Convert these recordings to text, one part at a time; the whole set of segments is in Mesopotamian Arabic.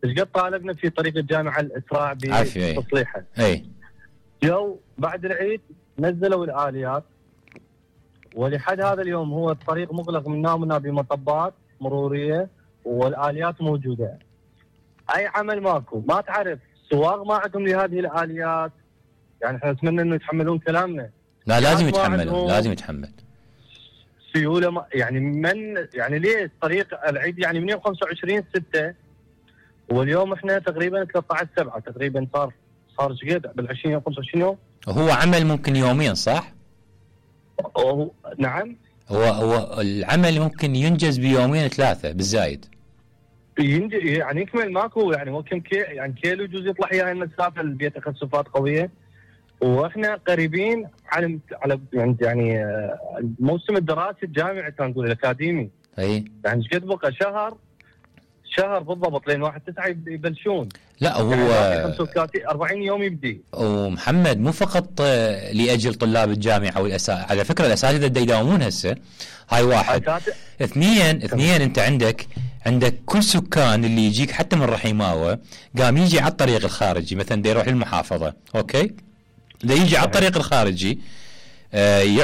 ايش قد طالبنا في طريق الجامعه الاسراع بتصليحها. اي جو بعد العيد نزلوا الاليات، ولحد هذا اليوم هو الطريق مغلق من هنا بمطبات مروريه والاليات موجوده. اي عمل ماكو، ما تعرف سواق ما عندهم لهذه الاليات. يعني احنا نتمنى انه يتحملون كلامنا. لا لازم يتحملون، لازم يتحمل. سيوله يعني يعني ليه طريق العيد يعني من يوم 25/6 واليوم احنا تقريبا 13/7 تقريبا صار ايش قد بال20 يوم 25 يوم. هو عمل ممكن يومين صح؟ نعم. هو العمل ممكن ينجز بيومين 3 بالزايد. يعني يكمل ماكو يعني هو كم يعني كيلو يجوز يطلع هي المسافه البيت تخسفات قويه، واحنا قريبين على يعني الموسم الدراسي الجامعي كان نقول الاكاديمي. اي يعني ايش قد بقى شهر بالضبط لين 1/9 يبلشون. لا هو يعني 40 يوم يبدي. ومحمد مو فقط لاجل طلاب الجامعه على فكره الاساتذه دا يداومون هسه. هاي واحد. اثنين انت عندك كل سكان اللي يجيك حتى من رحيماوه قام يجي على الطريق الخارجي، مثلا دا يروح للمحافظه، اوكي؟ دا يجي على الطريق الخارجي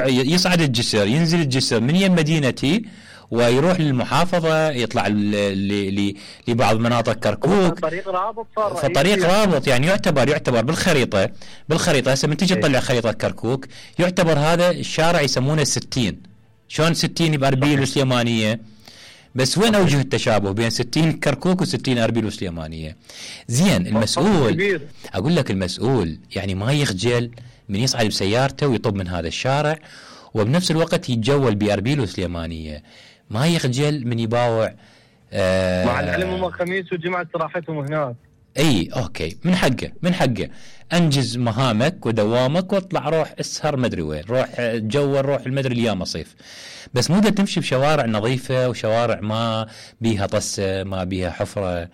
يصعد الجسر، ينزل الجسر من يم مدينتي ويروح للمحافظة، يطلع لبعض مناطق كركوك. طريق رابط صار. فطريق رابط يعني يعتبر بالخريطة هسه من تجي تطلع خريطة كركوك يعتبر هذا الشارع يسمونه 60. شلون 60 بأربيل وسليمانية؟ بس وين أوجه التشابه بين 60 كركوك و60 أربيل وسليمانية؟ زين المسؤول، أقول لك المسؤول يعني ما يخجل من يصعد بسيارته ويطب من هذا الشارع، وبنفس الوقت يتجول بأربيل وسليمانية، ما يخجل من يباوع. مع العلم هم الخميس والجمعة راحتهم هناك. اي اوكي، من حقه انجز مهامك ودوامك واطلع روح اسهر مدري وين، روح تجول، روح المدري الايام صيف، بس مو دا تمشي بشوارع نظيفة وشوارع ما بيها طسة ما بيها حفرة.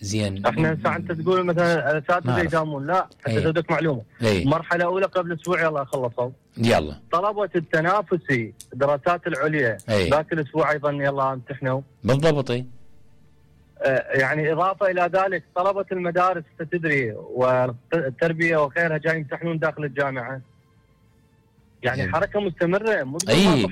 زين احنا هسه انت تقول مثلا الاساتذه يداومون، لا حتى تدك معلومه. مرحله اولى قبل اسبوع يلا خلصوا، يلا طلبه التنافسي الدراسات العليا ذاك الاسبوع ايضا يلا امتحنوا بالضبط. يعني اضافه الى ذلك طلبه المدارس تدري والتربيه وغيرها جاي يمتحنون داخل الجامعه. يعني حركه مستمره مو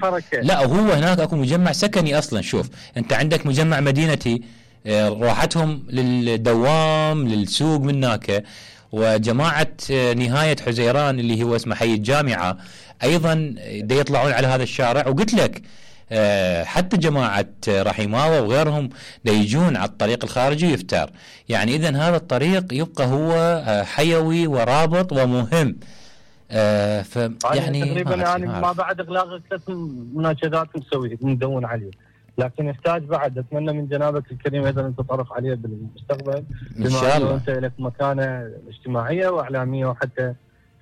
حركه. لا وهو هناك اكو مجمع سكني اصلا. شوف انت عندك مجمع مدينتي راحتهم للدوام للسوق من هناك، وجماعة نهاية حزيران اللي هو اسمه حي الجامعة أيضا دا يطلعون على هذا الشارع. وقلت لك حتى جماعة رحيماوة وغيرهم دا يجون على الطريق الخارجي ويفتر. يعني إذن هذا الطريق يبقى هو حيوي ورابط ومهم. يعني تقريبا يعني ما بعد إغلاق 3 مناشدات نسوي ندون عليه، لكن يحتاج بعد. اتمنى من جنابك الكريم ايضا ان تتطرق عليه بالمستقبل ان شاء الله. انت لك مكانه اجتماعيه واعلاميه وحتى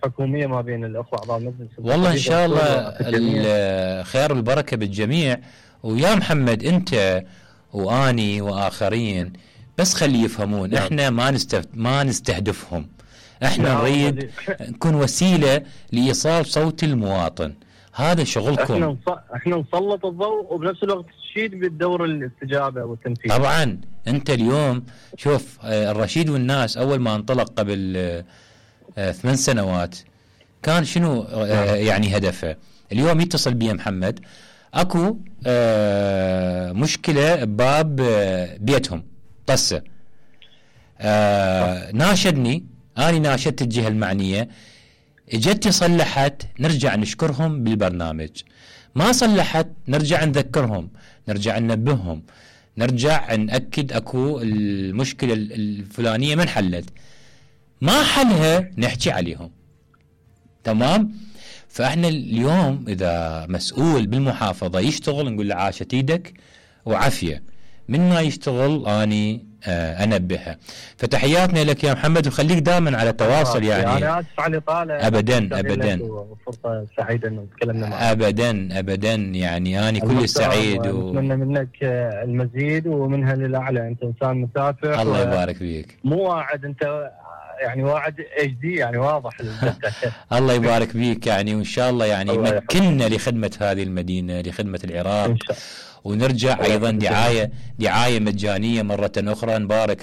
حكوميه ما بين الاخوه اعضاء المجلس. والله ان شاء الله الخير والبركه بالجميع. ويا محمد انت واني واخرين بس خلي يفهمون احنا ما نستهدفهم، احنا نريد نكون وسيله لايصال صوت المواطن. هذا شغلكم. احنا نسلط الضوء وبنفس الوقت تشيد بالدور الاستجابه والتنفيذ. طبعا انت اليوم شوف الرشيد والناس اول ما انطلق قبل 8 سنوات كان شنو يعني هدفه. اليوم يتصل بي محمد اكو مشكله بباب بيتهم طسه، ناشدني، اني ناشدت الجهه المعنيه، اجت صلحت، نرجع نشكرهم بالبرنامج. ما صلحت نرجع نذكرهم، نرجع ننبههم، نرجع نأكد اكو المشكلة الفلانية من حلت، ما حلها نحكي عليهم. تمام؟ فاحنا اليوم اذا مسؤول بالمحافظة يشتغل نقول له عاشت ايدك وعافية، من ما يشتغل اني انبهها. فتحياتنا لك يا محمد وخليك دائما على تواصل. يعني انا اسف على الاطاله. ابدا فرصه سعيده انه تكلمنا معك. ابدا يعني انا كل سعيد اتمنى منك المزيد ومنها للاعلى. انت انسان مسافر. الله يبارك فيك. مو واعد انت يعني واعد HD يعني واضح. الله يبارك فيك يعني، وان شاء الله يعني يمكننا لخدمه هذه المدينه، لخدمه العراق، ونرجع ايضا دعايه مجانيه مره اخرى. نبارك